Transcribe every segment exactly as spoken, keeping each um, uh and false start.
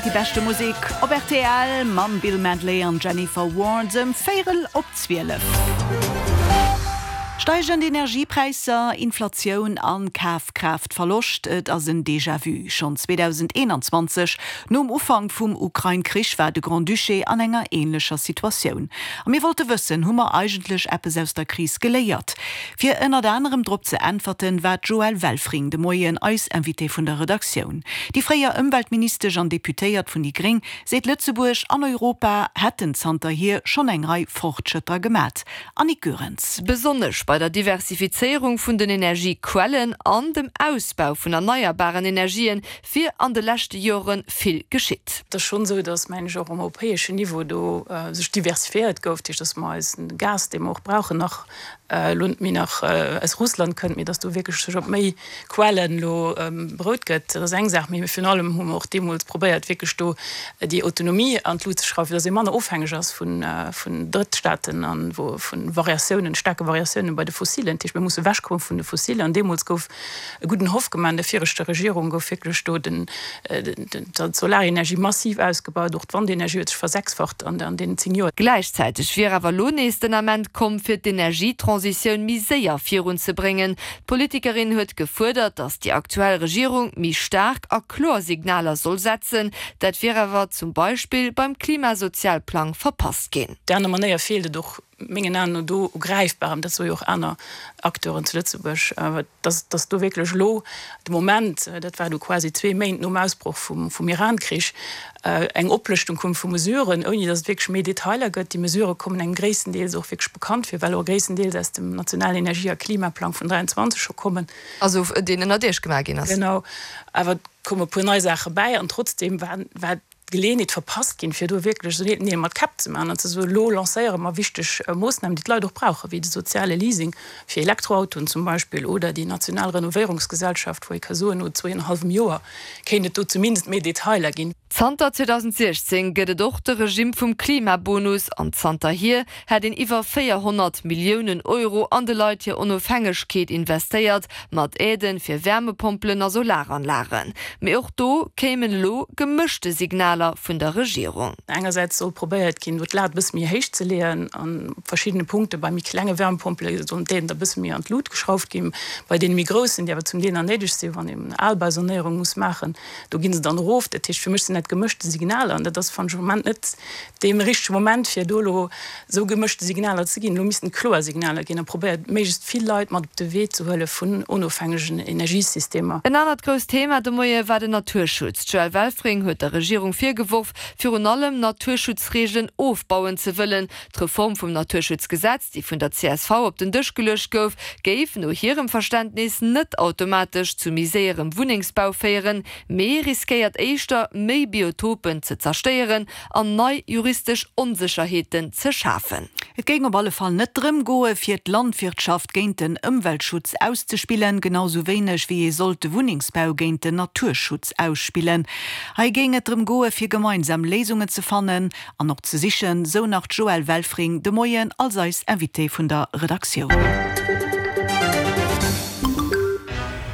Déi beschte Musek op rtl mam Bill Medley an Jennifer Warnes ëm véierel op zwielef. Steigend Energiepräisser, Inflatioun an Kafkraaftverloscht, et ass en Déjà-vu. Schonn zweedausendeenanzwanzeg, nom Ufank vum Ukrain-Krich, war de Grand-Duché an enger änlecher Situatioun. A mir wollte wëssen, hu mer eigentlech eppes aus der Kris geléiert? Fir ënnert anerem drop ze äntwerten, war d'Joëlle Welfring de Moien eis Invitée vun der Redaktioun. Déi fréier Ëmweltministesch an Deputéiert vun déi gréng seet, Lëtzebuerg an Europa hätten zanterhier schonn eng Rei Fortschrëtter gemat. Annick Goerens. Besonnesch bei der Diversifizéierung vun den Energiequellen an dem Ausbau vun erneierbaren Energien wier an de leschte Jore vill geschitt. Et ass schonn esou, datt, mengen ech, och um europäeschen Niveau do sech diversifiéiert gouf, dat heescht, datt mer eisen Gas, dee mer och brauchen, nach elo net méi nach aus Russland kënnt, mee datt do wierklech sech op méi Quellen elo berout gëtt. Dat ass eng Saach. Mee virun allem hu mer och deemools probéiert, wierklech do déi Autonomie an d'Lut ze schrauwen, fir datt ee manner ofhängeg ass vun Drëttstaaten a vu Variatiounen, staarke Variatiounen bei de Fossilen. Dat heescht, mir musse ewechkomme vun de Fossilen. An deemools gouf e gudden Hoff gemaach an der viregter Regierung gouf wierklech do d'Solarenergie massiv ausgebaut, och d'Wandenergie huet sech versechsfacht an deenen zéng Joer. Gläichzäiteg wier awer elo nees den Ament komm, fir d'Energietransitioun méi séier virunzebréngen. D'Politikerin huet gefuerdert, datt déi aktuell Regierung méi staark a kloer Signaler soll setzen. Dat wier awer zum Beispill beim Klimasozialplang verpasst ginn. Op där aner Manéier feelt et och mengen Aen no do u Gräifbarem, dat soe jo och aner Acteuren zu Lëtzebuerg, dass dass do wierklech elo de Moment, dat war du quasi zwee Méint nom Ausbroch vum vum Iran-Krich, eng Oplëschtung koum vu Mesuren, ouni dass et wierklech méi Detailer gëtt. Déi Mesurë kommen engem gréisstendeels och wierklech bekannt vir, well och gréisstendeels aus dem nationalen Energie a Klimaplang vun dräianzwanzeg scho kommen. Also deen ënnert Iech gemaach ginn ass. Genau. Awer et koume e puer nei Saache bäi an trotzdeem war war d'Geleeënheet verpasst ginn, fir do wierklech esou Neel mat Käpp ze maachen an ze soen, elo lancéiere mer wichteg Moossnamen, déi d'Leit och brauchen, wéi de soziale Leasing fir Elektroautoen zum Beispill oder déi national Renovéierungsgesellschaft, wou ee ka soen, no zwee an e hallwem Joer kéint et do zumindest méi Detailer ginn. Zanter zweedausendsiechzéng gëtt et och de Regimm vum Klimabonus an zanterhier hätt een iwwer véierhonnert Milliounen Euro an de Leit hir Onofhängegkeet investéiert, mat Aiden fir Wärmepompelen a Solaranlagen. Mee och do kéimen elo gemëschte Signaler vun der Regierung. Engersäits soll probéiert ginn, do d'Lat e bësse méi héich ze leeën an op verschiddene Punkte. Bei méi klenge Wärmepompele sollen d'Aiden da e bësse méi an d'Lut geschrauft ginn. Bei deene méi groussen, déi awer zum Deel nach néideg sinn, wann een Albausanéierung muss maachen, do gi se dann erof. Dat heescht, fir mech sinn dat gemëschte Signaler an dat ass, fannen ech, am Moment net dee richtege Moment, fir do elo esou gemëschte Signaler ze ginn. Elo missten kloer Signaler ginn a probéiert, méiglechst vill Leit mat op de Wee ze huele vun onofhängegen Energiesystemer. En anert grousst Thema de Moie war den Naturschutz. D'Joëlle Welfring huet der Regierung virgeworf, virun allem Naturschutzreegelen ofbauen ze wëllen. D'Reform vum Naturschutzgesetz, déi vun der csv op den Dësch geluecht gouf, géif no hirem Verständnis net automatesch zu méi séierem Wunnengsbau féieren, mee riskéiert éischter, méi Biotopen ze zerstéieren an nei juristesch Onsécherheeten ze schafen. Et géing op alle Fall net drëm goe fir d'Landwirtschaft géint den Ëmweltschutz auszespillen, genau sou wéineg wéi ee sollt de Wunnengsbau géint den Naturschutz ausspillen. Hei géing et drëm goe fir gemeinsam Léisungen ze fannen an och ze sichen, sou nach d'Joëlle Welfring de Moien als eis Invitée vun der Redaktioun.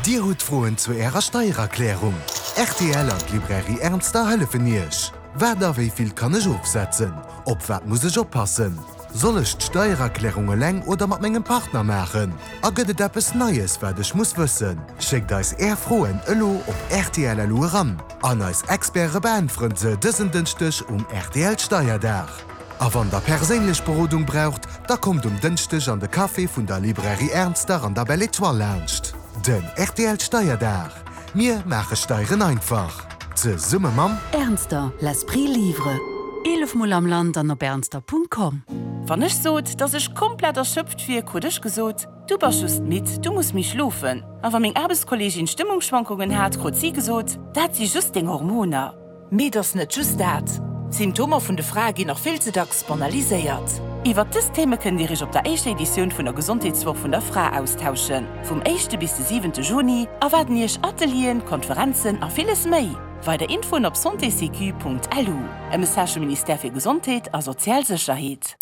Dir hutt Froen zu Ärer Steiererklärung? Rtl an d'Librairie Ernster hëllefen Iech. Wat a wéi vill kann ech ofsetzen? Op wat muss ech oppassen? Soll ech d'Steiererklärung eleng oder mat mengem Partner maachen? A gëtt et eppes Neies, wat ech muss wëssen? Schéckt eis Är Froen elo op rtl.lu eran an eis Experte beäntweren se dësen Dënschdeg um rtl Steierdag. A wann der perséinlech Berodung braucht, da kommt um Dënschdeg an de Café vun der Librairie Ernster an der Belle Etoile laanscht. Den rtl Steierdag, Mir maache Steieren einfach. Zesumme mam. Ernster, l'esprit livre. Eelef Mol am Land an op ernster Punkt com. Wann ech sot, dass ech komplett erschöpft wier, krut ech gesot, Du bass just midd, du muss méi schlofen. A wa meng Aarbechtskolleegin Stëmmungsschwankungen hat, krut si gesot, Dat si just deng Hormoner. Mee et ass net just dat. D'Symptomer vun de Frae ginn nach vill ze dacks banaliséiert. Iwwer dës Theme kënnt Dir Iech op der éischter Editioun vun der Gesondheetswoch vun der Fra austauschen. Vum éischte bis de siwente Juni erwaarden Iech Atelieren, Konferenzen a villes méi. Weider Infoen op santésécu Punkt lu. E Message vum Ministère fir Gesondheet a sozial Sécherheet.